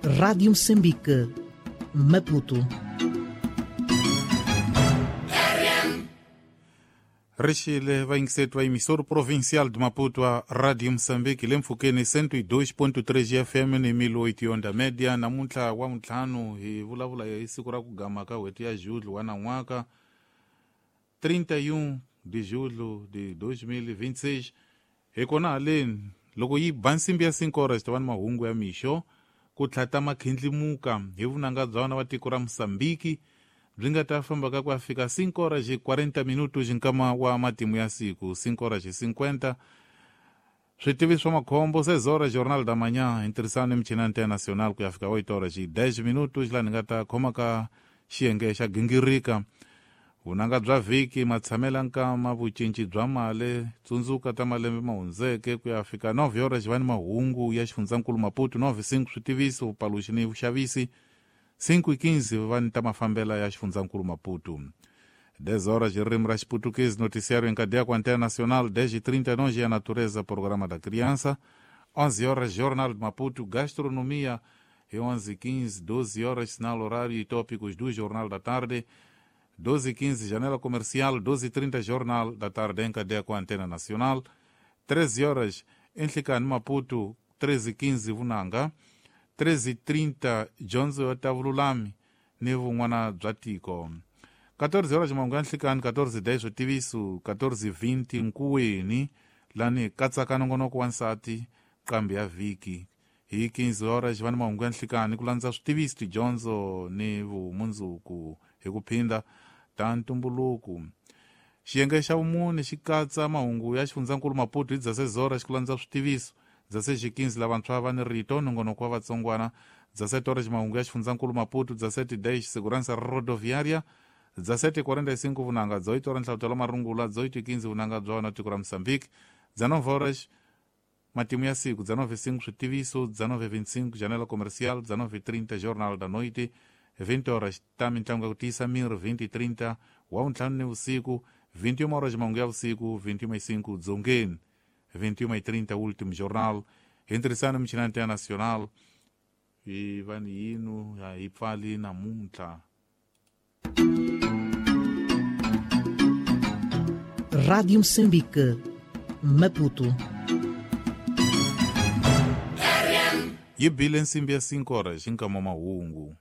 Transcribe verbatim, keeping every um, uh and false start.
Rádio Moçambique, Maputo. Rixile vayingiseti va emissora provincial de Maputo a Radio Moçambique le mpfhukeni cento e dois ponto três F M ni mil oito onda média. Namuntlha wa ntlhanu hi vulavula hi siku ra ku gama ka n'hweti ya julho wa nan'waka trinta e um de julho de dois mil e vinte e seis. Hi kona haleni loko yi ba nsimbi ya cinco horas ta va ni mahungu ya mixo ku tlhata makhindlimuka hi vunanga bya vana va tiko ra Mozambique byi nga ta famba ka ku ya fika cinco horas e quarenta minutos nkama wa matimu ya siku cinco horas e cinquenta. Switivi swa makhombo seis horas Jornal da Manhã hi ntirhisano ni michini ya internacional ku ya fika oito horas e dez minutos laha ni nga ta khoma ka xiyenge xa gingirika vunanga bya vhiki matshamela nkama vucinci bya mali tsundzuka ta malembe ma hundzeke ku ya fika nove horas va ni mahungu ya xifundzankulu Maputo nove cinco switiviso vupaluxi ni vuxavisi cinco e quinze va ni ta mafambela ya xifundzankulu Maputo dez horas ririmi ra Xiputukezi noticiário em cadeia com a Antena Nacional dez e trinta e nove a natureza programa da criança onze horas Jornal de Maputo gastronomia e onze e quinze doze horas sinal horário e tópicos do Jornal da Tarde doze e quinze janela comercial doze e trinta Jornal da Tarde em cadeia com a Antena Nacional treze horas em Nhlikani Maputo treze e quinze Vunanga treze e trinta Jonzo ya Tavululami ni vun'wana bya tiko quatorze horas mahungu ya nhlikani quatorze e dez switiviso quatorze e vinte nkuweni lani katsaka nongonoko wa nsati qambi ya vhiki hi quinze horas va ni mahungu ya nhlikani ku landza switiviso tidyondzo ni vumundzuku hi ku phinda ta ntumbuluko. Xiyenge xa vumune xi katsa mahungu ya xifundzankulu Maputo hi dezesseis horas ku landza switiviso dezesseis e quinze lavantshwa va ni rito nongonoko wa vatsongwana dezessete horas mahungu ya xifundzankulu Maputo dezessete e dez segurança rodoviária dezessete e quarenta e cinco vunanga dezoito horas nhlavutelo marungula dezoito e quinze vunanga bya wona tiko ra Moçambique dezenove horas matimu ya siku dezenove e cinco switiviso dezenove e vinte e cinco janela comercial dezenove e trinta Jornal da Noite vinte horas ta mintlangu ya ku tiyisa miri vinte e trinta wa vuntlhanu ni vusiku vinte e uma horas mahungu ya vusiku vinte e uma e cinco dzongeni vinte e uma e trinta último jornal hi ntirhisano michini ya internacional hi va ni yinu hi pfali namuntlha. Rádio Moçambique, Maputo. Yi bile nsimbi ya cinco horas hi nkama wa mahungu.